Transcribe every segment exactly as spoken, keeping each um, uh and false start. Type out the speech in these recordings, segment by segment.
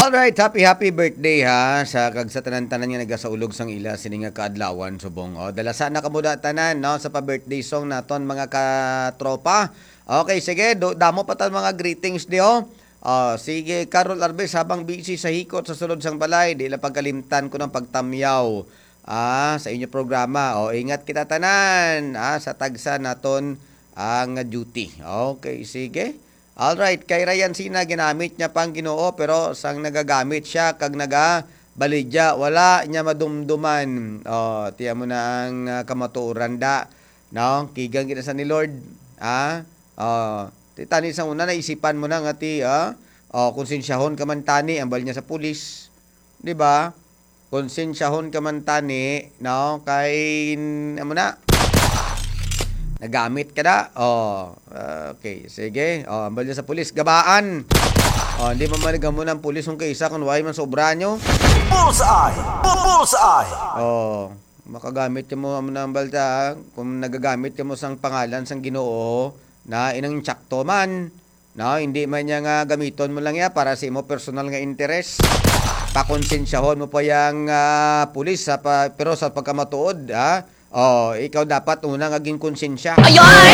Alright, happy, happy birthday ha sa kag sa tanan-tanan nga nagasaulog sang ila sini nga kaadlawan subong. O, dala sana kamo da tanan, no, sa pa-birthday song naton, mga katropa. Okay, sige, do, damo pa ta mga greetings di, oh. Ah, sige, Carol Arbes, habang busy sa hikot sa sulod sang balay, di lang pagkalimtan ko ng pagtamyaw, ah, sa inyo programa. O, ingat kita tanan, ah, sa tagsa naton ang duty. Okay, sige. Alright, kay Ryan Sina, ginamit niya pang Ginoo, pero sang nagagamit siya kag nagabaligya, wala niya madumduman. Oh, tiyan mo na ang, ah, kamatuoran da, no? Kigang gid sa ni Lord, ah? Oh, ti tani sa una naisipan mo na nga ti, ah? Oh, konsensyahon ka man tani, ambal niya sa pulis, di ba? Konsensyahon ka man tani, no? Kay, amo na, nagamit ka na. Oh, okay, sige. Oh, ambal niya sa pulis, gabaan. Oh, hindi mo man gamo ng pulis kung kaisa kung why man sobra nyo. Bullseye! Bu-, bullseye! Oh, makagamit ka mo, amo na ang balta, ha? Kung nagagamit ka mo sang pangalan sang Ginoo, na inang tsakto man, no? Hindi man niya nga gamiton mo lang ya para sa imo personal nga interes. Pakonsensyahon mo pa yang, ah, pulis sa pa, pero sa pagkamatuod, ha? Oh, ikaw dapat una nga ginkonsensya. Ayoy!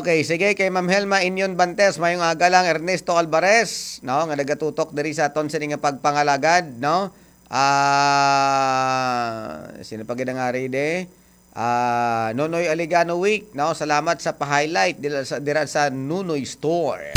Okay, sige, kay Ma'am Helma Inyon Bantes, mayong aga lang, Ernesto Alvarez, no, nga nagatutok diri sa aton sini nga pagpangalagad, no? Ah, sino pa gid ang ari de? Ah, Nonoy Aligano Week, no? Salamat sa pa-highlight dira sa, dira sa Nonoy Store.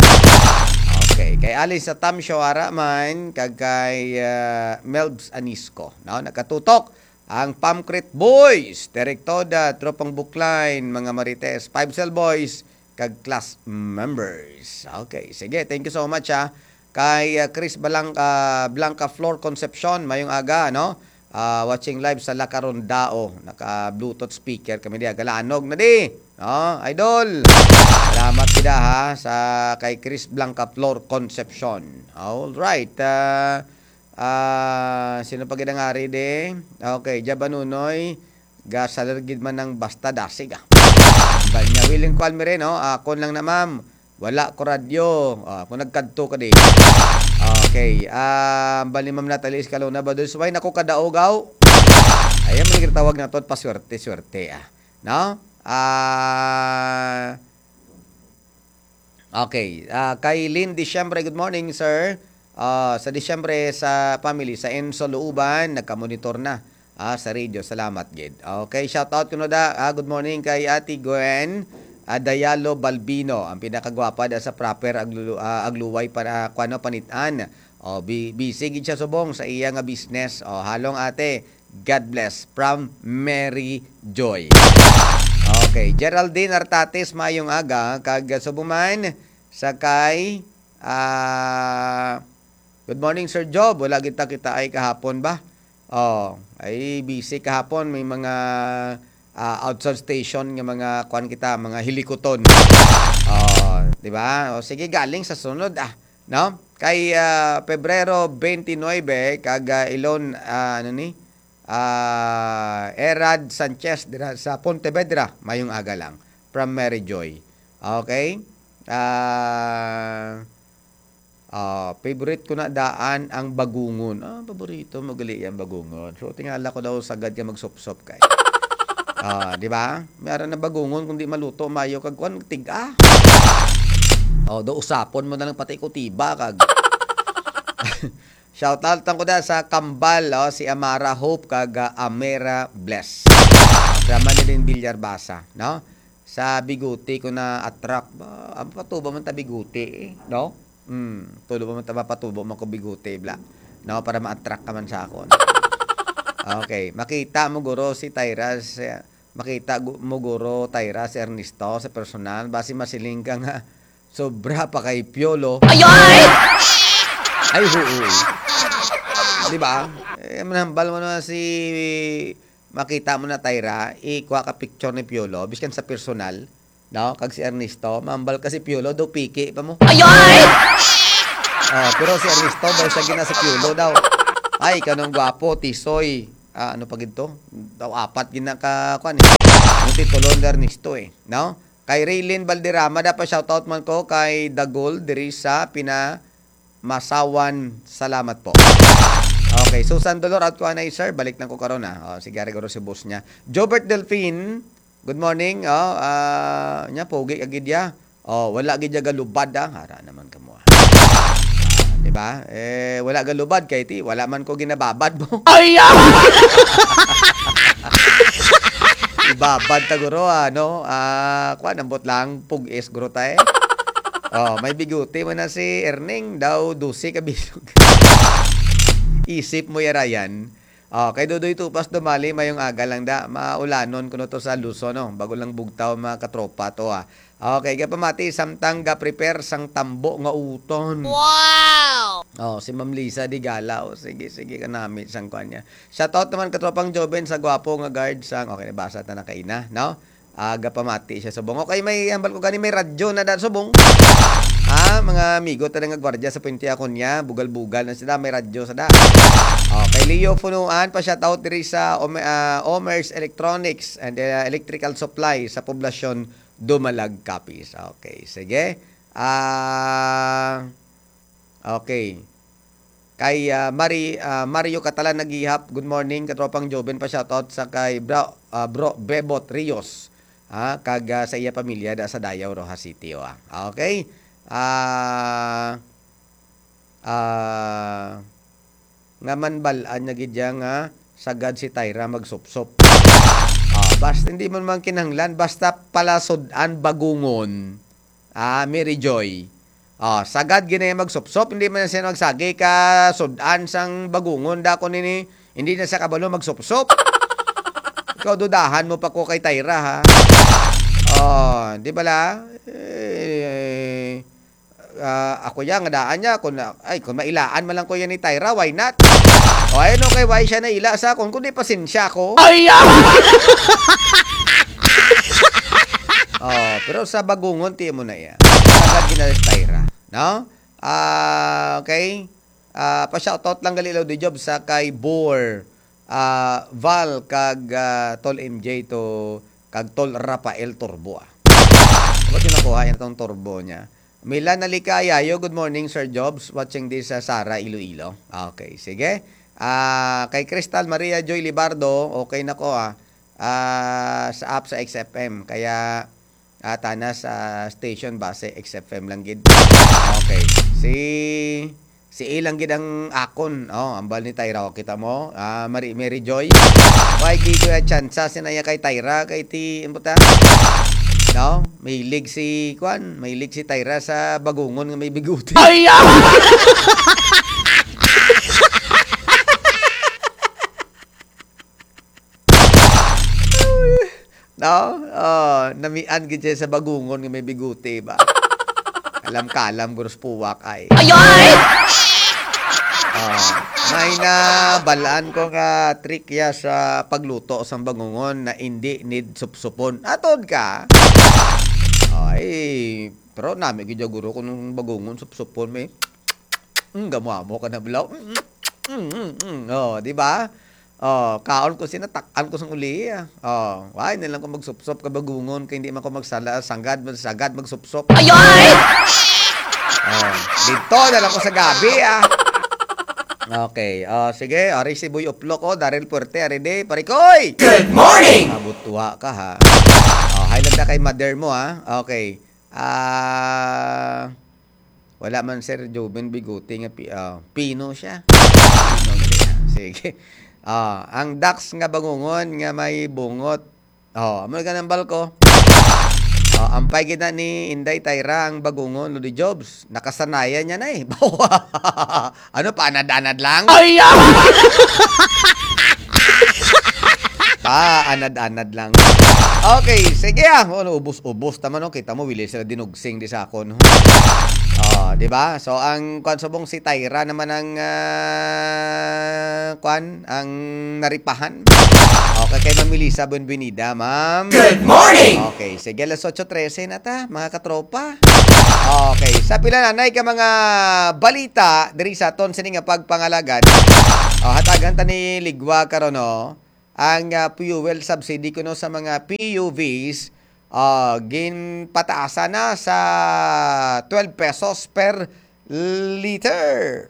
Okay, kay Alice sa Tamsyo, ara man, kag kay, ah, Melbs Anisco, no? Nakatutok ang Pamcrit Boys, Direktoda, Tropang Bookline, mga Marites, Five Cell Boys, kag class members. Okay, sige, thank you so much, ha. Kay, ah, Chris Balang-, ah, Blanca Flor Concepcion, mayong aga, no? Ah, watching live sa Lacarondao. Naka-Bluetooth speaker kami diya. Galanog na di. No, idol. Salamat gid, ha, sa kay Chris Blanca Flor Concepcion. All right. Ah, ah, sino pa gid ang ari di? Okay, Jab Anunoy. Gasalir gid man ang basta dasig, ah. Bal niya, willing call mi rin, no? Akon lang na, ma'am. Wala ko radyo. Ah, kung nagkadto ka di. Okay. Ah, bali, Ma'am Natalie Escalona, ba, dos, why nako kadaogaw? Ayan, man gitawag na to, paswerte-swerte, ah. No? Ah, okay. Ah, kay Lynn Disyembre, good morning, sir. Ah, sa Disyembre sa family, sa Enso Luuban, nagkamonitor na, ah, sa radio. Salamat gid. Okay, shout out kuno da. Ah, good morning kay Ate Gwen, ah, Dayalo Balbino, ang pinakagwapa da sa proper Aglu-, ah, Agluway para kuno Panitan. O, bi-, busy gid siya subong sa iya nga business. O, halong ate, God bless from Mary Joy. Okay, Geraldine Artates, mayong aga, kag subong man sa kay, ah, good morning, Sir Job. Wala kita kita ay kahapon ba? Oh, ay busy kahapon, may mga, ah, outside station nga mga kuan kita, mga hilikuton. Oh, di ba? O sige, galing sa sunod, ah, no? Kay, ah, Pebrero twenty-nine, kag, ah, Ilon, ah, ano ni? Ah, Erad Sanchez dira sa Pontevedra, mayong aga lang. From Mary Joy. Okay? Ah, ah, favorite ko na daan ang bagungon. Ah, paborito mo gali ang bagungon. So, tingala ko daw sagad ka magsupsop kay. Ah, di ba? May ara na bagungon kung di maluto, mayo kag kuan, tiga. Oh, do usapon mo na lang pati ko tiba kag. Shout out lang ko da sa Kambal, oh, si Amara Hope kag, ah, Amera Bless. Drama ni din Bilyar Basa, no? Sa Bigote ko na attract. Ba, ang patubo man ta Bigote, eh, no? Hmm, tulo ba man ta mapatubo man ko Bigote, bla. No, para ma-attract ka man sa akon. Okay, makita mo guro si Tyra, si, makita gu-, mo guro Tyra si Ernesto sa personal, basi masiling ka nga sobra pa kay Piolo. Ayoy! Ay, oo. Di ba? Eh, manambal mo na si, makita mo na Tyra, ikuha ka picture ni Piolo, biskan sa personal, no? Kag si Ernesto, mambal ka si Piolo, daw piki pa mo. Ayoy! Ah, pero si Ernesto, daw siya gina si Piolo daw. Ay, kanong gwapo, tisoy. Ah, ano pa gid to? Daw apat gina ka, kuan eh. Ang titulo ni Ernesto eh, no? Kay Raylin Valderrama, dapat shoutout man ko kay Dagol diri sa Pina Masawan. Salamat po. Okay, Susan Dolor, out ko anay, sir. Balik lang ko karon, ah. Oh, sige, ari guro si boss niya. Jobert Delfin, good morning. Oh, ah, nya, pogi ka gid ya. Oh, wala gid ya galubad, ah. Hara naman kamo, ah. Di ba? Eh, wala galubad kay ti, wala man ko ginababad mo. Ay, ah! Ibabad ta guro, ano? Ah, kuan, ambot lang, pug-is guro ta, eh. Oh, may bigote man na si Erning, daw dose ka bilog. Isip mo ya, Ryan. Oh, kay Dodoy Tupas Dumali, mayong aga lang da. Maulanon kuno to sa Luzon, no? Bago lang bugtaw, mga katropa to, ah. Okay, gapamati, samtang ga-prepare sang tambo nga uton. Wow! Oh, si Ma'am Lisa Digala, oh, sige, sige, kanami sang kuan niya. Shoutout naman katropang Joven sa gwapo nga guard sang, okay, nabasa ta na kaina, no? Ah, gapamati siya subong. Okay, may hambal ko gani, may radyo na da subong. Ha, mga amigo ta nga gwardiya sa Puente Acuña, bugal-bugal na sila, may radyo sa da. Oh, kay Leo Funuan, pa shoutout diri sa Ome-, ah, Omer's Electronics and, ah, Electrical Supply sa poblasyon Dumalag, Capiz. Okay, sige. Ah, okay. Kay, ah, Mari-, ah, Mario Catalan Nagihap, good morning, katropang Joven, pa shoutout sa kay bro, ah, bro Bebot Rios, ah, kag, ah, sa iya pamilya da sa Dayaw, Roxas City, oh, ah. Okay. Ah, ah, nga manbal-an niya gid ya nga sagad si Tyra magsupsop. Ah, basta hindi man man kinahanglan, basta pala sud-an bagungon. Ah, Mary Joy. Ah, sagad gid na iya magsupsop, hindi man siya magsagi ka sud-an sang bagungon, dako nini, hindi na siya kabalo magsupsop. Ikaw, dudahan mo pa ko kay Tyra, ha? Oh, di bala? Eh, ah, ako ya, nga daan niya, kung na-, ay, kung mailaan man lang ko yan ni Tyra, why not? O, ayun, okay, why siya naila sa akon? Kundi pasensya ko. Ay, ah! Oh, pero sa bagungon, ti mo na iya. Sagad gid na si Tyra, no? Ah, okay. Ah, pa-shoutout lang gali, Lodi Job, sa kay Bor, ah, Val, kag, ah, Tol M J to, kag Tol Rafael Turbo, ah. Ba't yung nakuha yan, tong turbo niya? Milan Nalika Ayayo, good morning, Sir Jobs. Watching this sa Sara, Iloilo. Okay, sige. Ah, kay Crystal Maria Joy Libardo, okay na ko, ah. Ah, sa app sa X F M. Kaya, ah, tana sa station base X F M lang gid. Okay. Si, si A lang gid ang akon. Oh, ambal ni Tyra. Oh, kita mo? Ah, Mary, Mary Joy. Why di ko ya tsansa sinaya kay Tyra? Kay ti, ano ta? No? Mahilig si, kwan, mahilig si Tyra sa bagungon nga may biguti. Ay, ah! No? Oh, namian gid siya sa bagungon nga may biguti ba? Kalam-kalam, guro sa puwak ay. Ay, ay! Oh, may nabalaan ko nga trick ya sa pagluto sang bagungon na indi need supsupon. Atod ka? Ay, pero nami gid ya, guro, kung bagungon supsupon, may, mm, gamo-amo ka na bulaw. Mm, mm, mm, mm. Oh, di ba? Oh, kaon ko sina, tak-an ko sang uli, ah. Oh, why na lang ko magsupsop ka bagungon kay hindi man ko magsala, sanggad, magsagad, magsupsop. Ay, ay! Oh, dito na lang ko sa gabi, ah. Okay, oh, sige, ari si Boy Uplok, oh, Daryl Puerte, ari di, pare koy! Good morning! Abot tuwa ka, ha? Oh, hi lang na kay mother mo, ha? Okay. Ah, wala man, Sir Joven Bigote nga pi-, ah, pino siya. Pino siya. Sige. Ah, ang daks nga bagungon nga may bungot. Oh, amo ka nang balko. Oh, ampay gid na ni Inday Tyra ang bagungon, Lodi Jobs. Nakasanayan niya na eh. Ano, paanad-anad lang? Ay, ah! Paanad-anad lang. Okay, sige ah. Ano, ubos-ubos tama, no? Kita mo, wili sila dinugsing di sa akon, no? Oh, di ba? So, ang kwan subong si Tyra naman ang, ah, kwan, ang naripahan. Okay, kay Ma'am Melissa Buenvenida, ma'am. Good morning! Okay, sige, alas otso trese na ta, mga katropa. Okay, sa pila na, nay, ka mga balita diri sa aton sini nga pagpangalagad. Oh, hatagan ta ni Ligwa karon, no? Ang, ah, fuel subsidy kuno sa mga P U Vs Ah, ginpataasan na sa twelve pesos per liter.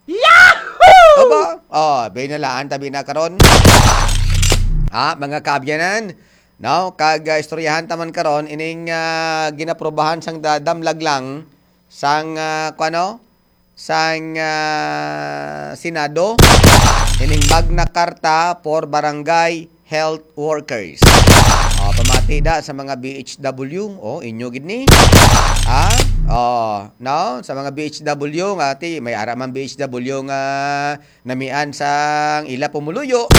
Yahoo! Aba, oh, binalaan tabi na karon. Ah, mga kaabyanan, no? Kag, ah, istoryahan taman karon ining, ah, ginaprobahan sang da-, damlag lang sang, ah, kuano? Sang, ah, Senado, ining Magna Carta for Barangay Health Workers. Oh, pamati da sa mga B H W, oh, inyo gid ni. Ha? Oh, no? Sa mga B H W nga, ti, may ara man B H W nga namian sang ila pumuluyo.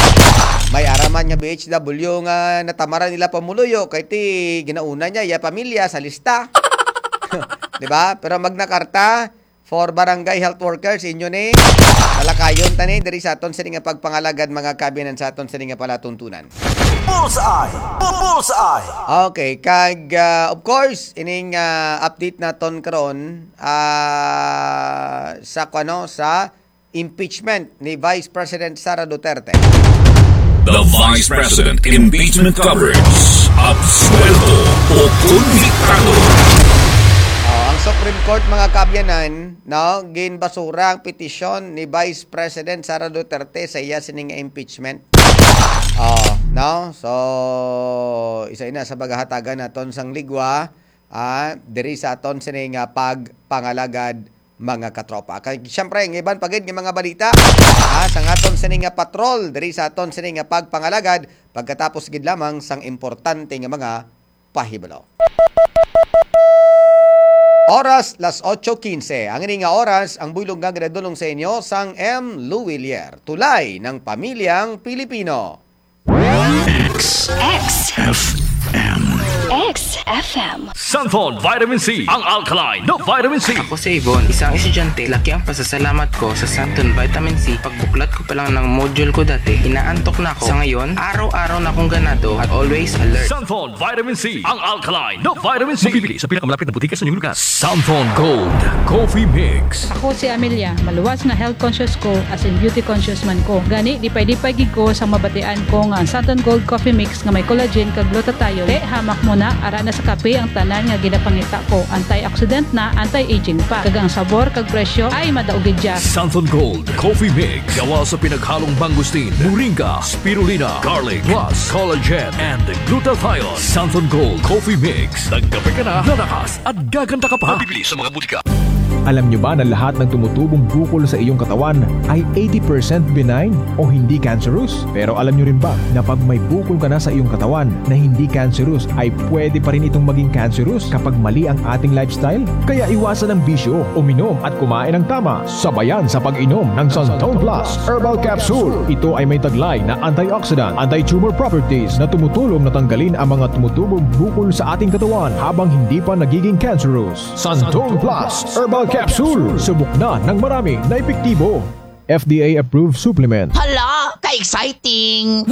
May ara man nga B H W nga natamaran ila pumuluyo, kay ti ginauna niya iya pamilya sa lista. Di ba? Pero Magna Carta for Barangay Health Workers, inyo ni. Talakayon ta ni diri sa aton sini nga pagpangalagad, mga kaabyanan, sa aton sini nga palatuntunan. Bullseye! Bullseye! Okay, kag, ah, of course, ining, ah, update naton karon, ah, sa kuno, sa impeachment ni Vice President Sara Duterte. The Vice President Impeachment Coverage. Absuelto o konbiktado. Oh, ang Supreme Court, mga kaabyanan, no, ginbasura ang petisyon ni Vice President Sara Duterte sa iya sining impeachment. Oh, no? So, isa ina sa pagahatagan naton sang ligwa, ah, diri sa aton sini nga pagpangalagad, mga katropa. Kay, siyempre, ang iban pa gid nga mga balita, ah, sa aton sini nga patrol, diri sa aton sini nga pagpangalagad, pagkatapos gid lamang sang importante nga mga pahibalo. Oras, las ocho quince. Ang ini nga oras, ang buylog nga ginadulong sa inyo sang M. Luwilier, tulay ng pamilyang Pilipino. X. X. F M. X F M. Santon Vitamin C, ang alkaline na vitamin C. Ako si Ivon, isang estudyante. Laki ang pasasalamat ko sa Santon Vitamin C. Pagbuklat ko pa lang ng module ko dati, inaantok na ako. Sa ngayon, araw-araw na akong ganado at always alert. Santon Vitamin C, ang alkaline na vitamin C. Mabibili sa pinakamalapit na butika sa inyong lugar. Santon Gold Coffee Mix. Ako si Amelia. Maluwas nga health conscious ko, as in beauty conscious man ko. Gani, lipay-lipay gid ko sa mabatian ko nga ang Santon Gold Coffee Mix nga may collagen kag glutathione. Te, hamak mo na, ara na sa kape ang tanan nga ginapangita ko. Antioxidant na, anti-aging pa. Kag ang sabor kag presyo ay madaog gid siya. Santon Gold Coffee Mix. Gawa sa pinaghalong mangosteen, moringa, spirulina, garlic, plus collagen and glutathione. Santon Gold Coffee Mix. Nagkape ka na, nalakas at gaganda ka pa. Mabibili sa mga butika. Alam nyo ba na lahat ng tumutubong bukol sa iyong katawan ay eighty percent benign o hindi cancerous? Pero alam nyo rin ba na pag may bukol ka na sa iyong katawan na hindi cancerous, ay pwede pa rin itong maging cancerous kapag mali ang ating lifestyle? Kaya iwasan ang bisyo, uminom at kumain ng tama. Sabayan sa pag-inom ng Santon Plus Herbal Capsule. Ito ay may taglay na antioxidant, anti-tumor properties na tumutulong na tanggalin ang mga tumutubong bukol sa ating katawan habang hindi pa nagiging cancerous. Santon Plus Herbal Capsule. Subok na ng marami na epektibo. F D A approved supplement. Hala, ka-exciting!